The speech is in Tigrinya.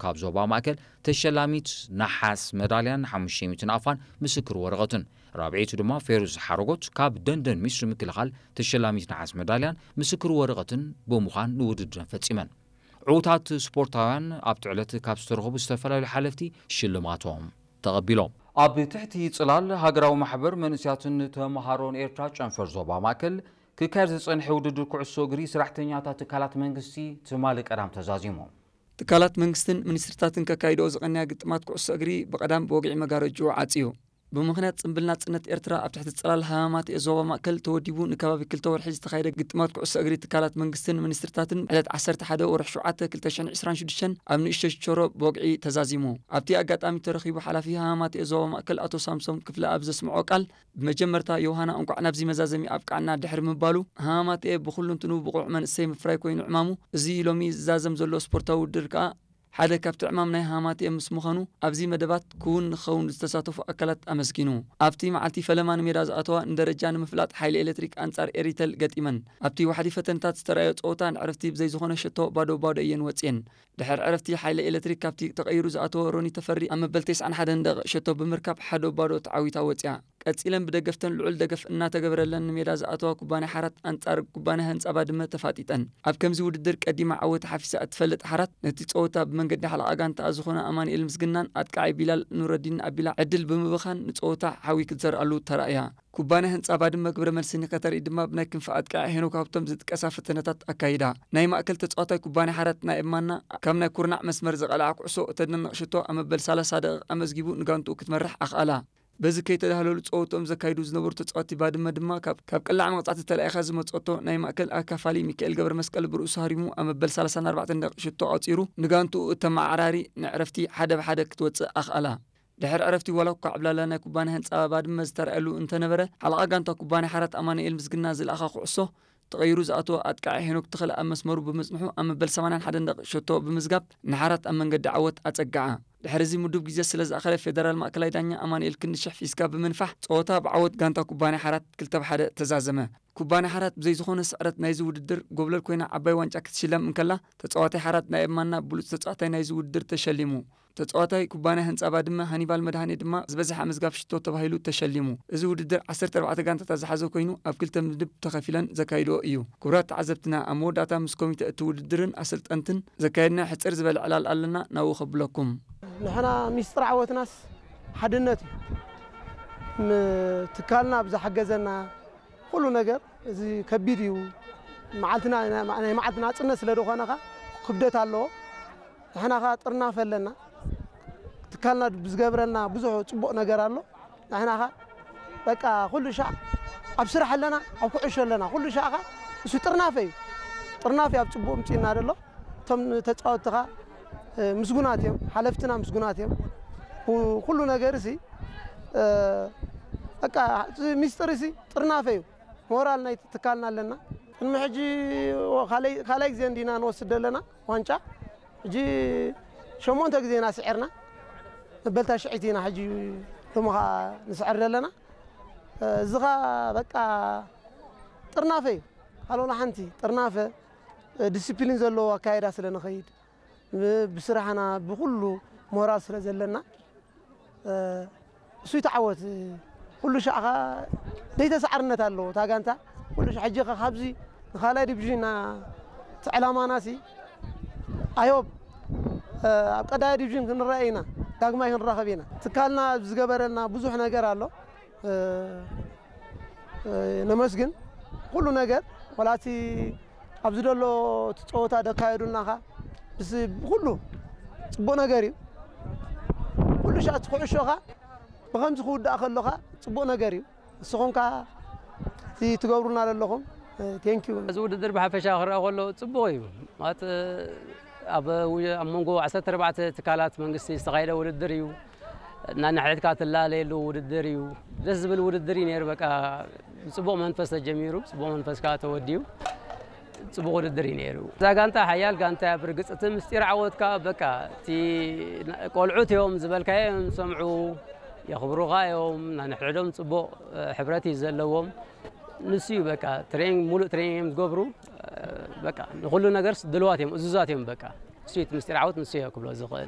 ካብ ዞባ ማእከል ተሸላሚት ነሓስ መዳልያን ሓሙሽተ ሚእቲ ናቕፋን ምስክር ወረቐትን፣ ራብዐይቱ ድማ ፌሩዝ ሓረጎት ካብ ደንደን ሚስሪ ምክልኻል ተሸላሚት ነሓስ መዳልያን ምስክር ወረቐትን ብምዃን ንውድድረን ፈጺመን። ዕዉታት ስፖርታውያን ኣብቲ ዕለት ካብ ዝተረኸቡ ዝተፈላለዩ ሓለፍቲ ሽልማቶም ተቐቢሎም። ኣብ ትሕቲ ጽላል ሃገራዊ ማሕበር መንእሰያትን ተመሃሮን ኤርትራ ጨንፈር ዞባ ማእከል ክካየድ ዝጸንሐ ውድድር ኩዕሶ እግሪ ሰራሕተኛታት ትካላት መንግስቲ ትማሊ ቀዳም ተዛዚሙ። ትካላት መንግስትን ሚኒስትሪታትን ከካይድኦ ዝቐንያ ግጥማት ኩዕሶ እግሪ ብቐዳም ብወግዒ መጋረጅኡ ዓጽዩ። ብምኽንያት ጽምብል ናጽነት ኤርትራ ኣብ ትሕቲ ጽላል ሃማማተኤ ዞባ ማእከል ተወዲቡ ንከባቢ ክልተ ወርሒ ዝተኻየደ ግጥማት ኩዕሶ እግሪ ትካላት መንግስትን ሚኒስትሪታትን ዕለት ዓሰርተ ሓደ ወርሒ ሸውዓተ ክልተ ሽሕን ዕስራን ሽዱሽተን ኣብ ንእሽቶ ሽቾሮ ብወግዒ ተዛዚሙ። ኣብቲ ኣጋጣሚ ተረኺቡ ሓላፊ ሃማማተኤ ዞባ ማእከል ኣቶ ሳምሶም ክፍለ ኣብ ዘስምዖ ቃል፣ ብመጀመርታ ዮሃና እንቋዕ ናብዚ መዛዘሚ ኣብቃዕና ድሕሪ ምባሉ፣ ሃማማተኤ ብኹሉ እንትኑ ብቑዕ መንእሰይ ምፍራይ ኮይኑ ዕማሙ፣ እዚ ሎሚ ዝዛዘም ዘሎ ስፖርታዊ ውድድር ከኣ ሓደ ካብቲ ዕማም ናይ ሃማማተኤ ምስ ምዃኑ፣ ኣብዚ መደባት ክውን ንክኸውን ዝተሳተፉ ኣካላት ኣመስጊኑ። ኣብቲ መዓልቲ ፈለማ ንሜዳ ዝኣተዋ ንደረጃ ንምፍላጥ ሓይሊ ኤሌክትሪክ ኣንጻር ኤሪተል ገጢመን። ኣብቲ ዋሕዲ ፈተነታት ዝተራእዮ ጸወታ ንዕረፍቲ ብዘይ ዝኾነ ሸቶ ባዶ ባዶ እየን ወጽየን። ድሕሪ ዕረፍቲ ሓይሊ ኤሌክትሪክ ካብቲ ተቐይሩ ዝኣተወ ሮኒ ተፈሪ ኣብ መበል ተስዓን ሓደን ደቂቕ ሸቶ ብምርካብ ሓደ ባዶ ተዓዊታ ወጽያ። ቀጺለን ብደገፍተን ልዑል ደገፍ እናተገበረለን ንሜዳ ዝኣተዋ ኩባንያ ሓራት ኣንጻር ኩባንያ ህንጻ ባድመ ተፋጢጠን። ኣብ ከምዚ ውድድር ቀዲማ ዓወት ሓፊሳ እትፈልጥ ሓራት ነቲ ጸወታ ብመንገዲ ሓለቓ ጋንታኣ ዝኾነ ኣማኑኤል ምስግናን ኣጥቃዓይ ቢላል ኑረዲን ኣቢላ ዕድል ብምብኻን ንጸወታ ሓዊ ክትዘርኣሉ ተራእያ። ኩባንያ ህንጻ ባድመ ግብረ መልሲ ንከተርኢ ድማ ብናይ ክንፊ ኣጥቃዓይ ሄኖክ ሃብቶም ዝጥቀሳ ፈተነታት ኣካይዳ። ናይ ማእከል ተጻዋታይ ኩባንያ ሓራት ናይ እማና ካብ ናይ ኩርናዕ መስመር ዝቐልዓ ኩዕሶ እተደንቕ ሽቶ ኣብ መበል ሰላሳ ደቂቕ ኣመዝጊቡ ንጋንትኡ ክትመርሕ ኣኽኣላ። በዚ ከይተዳህለሉ ጸወትኦም ዘካይዱ ዝነበሩ ተጻወቲ ባድመ ድማ ካብ፣ ካብ ቅላዕ መቕጻዕቲ ተላኢኻ ዝመጸቶ ናይ ማእከል ኣካፋሊ ሚካኤል ገብረ መስቀል ብርእሱ ሃሪሙ ኣብ መበል ሰላሳን ኣርባዕተን ደቂቕ ሽቶ ኣቑጺሩ ንጋንትኡ እተመዓራሪ ንዕረፍቲ ሓደ ብሓደ ክትወጽእ ኣኽኣላ። ድሕሪ ዕረፍቲ ዋላ እኳ ዕብላላ ናይ ኩባንያ ህንጻ ባድመ ዝተራእየሉ እንተነበረ፣ ሓለቓ ጋንታ ኩባንያ ሓራት ኣማኑኤል ምስግና ዝለኣኻ ኩዕሶ ተቐይሩ ዝኣተወ ኣጥቃዒ ሄኖክ ተኽለ ኣብ መስመሩ ብምጽንሑ ኣብ መበል ሰማንያን ሓደን ደቂቕ ሸቶ ብምዝጋብ ንሓራት ኣብ መንገዲ ዓወት ኣጸግዓ። ድሕሪ እዚ ምዱብ ግዜ ስለ ዝኣኸለ ፌደራል ማእከላይ ዳኛ ኣማኑኤል ክንዲ ሽሕ ፊስካ ብምንፋሕ ጸወታ ብዓወት ጋንታ ኩባንያ ሓራት ክልተ ብ ሓደ ተዛዘመ። ኩባንያ ሓራት ብዘይ ዝኾነ ስዕረት ናይዚ ውድድር ጎብለል ኮይና ዓባይ ዋንጫ ክትሽለም እንከላ፣ ተጻዋታይ ሓራት ናይ እማና ብሉጽ ተጻዋታይ ናይዚ ውድድር ተሸሊሙ። ተጻዋታይ ኩባንያ ህንጻ ባድመ ሃኒባል መድሃኔ ድማ ዝበዝሐ ምዝጋብ ሽቶ ተባሂሉ ተሸሊሙ። እዚ ውድድር ዓሰርተ ኣርባዕተ ጋንታታት ዝሓዘ ኮይኑ ኣብ ክልተ ምድብ ተኸፊለን ዘካይድኦ እዩ። ክቡራት ተዓዘብትና፣ ኣብ መወዳእታ ምስ ኮሚተ እቲ ውድድርን ኣሰልጠንትን ዘካየድና ሕጽር ዝበለ ዕላል ኣለና፣ ናብኡ ከብለኩም። ንሕና ሚስጥር ዓወትናስ ሓድነት እዩ። ም-፣ ትካልና ብዝሓገዘና ኩሉ ነገር እዚ ከቢድ እዩ። መዓልትና፣ ናይ መዓልቲ ናጽነት ስለ ዝኾነ ኸኣ ክብደት ኣለዎ። ንሕና ኸኣ ጥርናፈ ኣለና። ትካልና ብዝገብረልና ብዙሕ ጽቡቕ ነገር ኣሎ። ንሕና ኸኣ በቃ ኩሉ ሻዕ ኣብ ስራሕ ኣለና፣ ኣብ ኩዕሾ ኣለና። ኩሉ ሻዕ ኸኣ እሱ ጥርናፈ እዩ። ጥርናፈ እዩ ኣብ ጽቡቕ ምጺእና ዘሎ። እቶም ተጻወትቲ ኸኣ፣ እ፣ ምስጉናት እዮም። ሓለፍትና ምስጉናት እዮም። ኩ-፣ ኩሉ ነገር ሲ፣ እ፣ በቃ እቲ ሚስጥር ሲ ጥርናፈ እዩ። ሞራል ናይ ትካልና ኣለና። ቅድሚ ሕጂ ካልኣይ፣ ካልኣይ ግዜ እንዲና ንወስድ ዘለና ዋንጫ። ሕጂ ሸሞንተ ግዜ ኢና ስዒርና። መበል ታሽዐይቲ ኢና ሕጂ ሎሚ ኸኣ ንስዕር ዘለና። እዚ ኸኣ በቃ ጥርናፈ እዩ። ካልእ ሓንቲ ጥርናፈ፣ ዲሲፕሊን ዘለዎ ኣካይዳ ስለ ንኸይድ፣ ብ-፣ ብስራሕና ብኹሉ ሞራል ስለ ዘለና፣ እ፣ እሱ ይተዓወት። ኩሉ ሻዕ ኸኣ ደይተሳዕርነት ኣለዎ። እታ ጋንታ ኩሉ ሻዕ፣ ሕጂ ኸ ካብዚ ንኻልኣይ ዲቪዥን ኢና፣ እቲ ዕላማና ሲ፣ ኣይ ሆፕ፣ እ፣ ኣብ ቀዳማይ ዲቪዥን ክንረኣይ ኢና፣ ዳግማይ ክንራኸብ ኢና። ትካልና ዝገበረልና ብዙሕ ነገር ኣሎ። እ፣ እ፣ ነመስግን። ኩሉ ነገር፣ ዋላ እቲ ኣብዚ ዘሎ እቲ ጸወታ ደካየዱልና ኸኣ፣ ምስ ኩሉ ጽቡቕ ነገር እዩ። ኩሉ ሻዕ እቲ ኩዕሾ ኸኣ ብኸምዚ ክውዳእ ከሎ ኸኣ ጽቡቕ ነገር እዩ። ንስኹም ከኣ እቲ ትገብሩልና ዘለኹም፣ እ፣ ቴንኪዩ። እዚ ውድድር ብሓፈሻ ክረኣ ከሎ ጽቡቕ እዩ። ማለት፣ ኣብ ው-፣ ኣብ መንጎ ዓሰርተ ኣርባዕተ ትካላት መንግስቲ ዝተኻየደ ውድድር እዩ። እናነሕድሕድካ ትላለየሉ ውድድር እዩ። ደስ ዝብል ውድድር እዩ ነይሩ። በቃ፣ ብጽቡቕ መንፈስ ተጀሚሩ፣ ብጽቡቕ መንፈስ ከኣ ተወዲኡ፣ ጽቡቕ ውድድር እዩ ነይሩ። እዛ ጋንታ ሓያል ጋንታ እያ። ብርግጽ፣ እቲ ምስጢር ዓወት ከኣ፣ በቃ፣ እቲ ና-፣ ቆልዑት እዮም ዝበልካዮ እዮም ዝሰምዑ፣ የኽብሩኻ እዮም። ናንሕድሕዶም ጽቡቕ፣ እ፣ ሕብረት እዩ ዘለዎም። ንሱ እዩ፣ በቃ፣ ትሬኒንግ፣ ሙሉእ ትሬኒንግ እዮም ዝገብሩ። እ፣ በቃ፣ ንኹሉ ነገርስ ድልዋት እዮም፣ እዙዛት እዮም፣ በቃ። ንሱ እቲ ምስጢር ዓወት ንሱ እዮ ክብሎ ዝኽእል።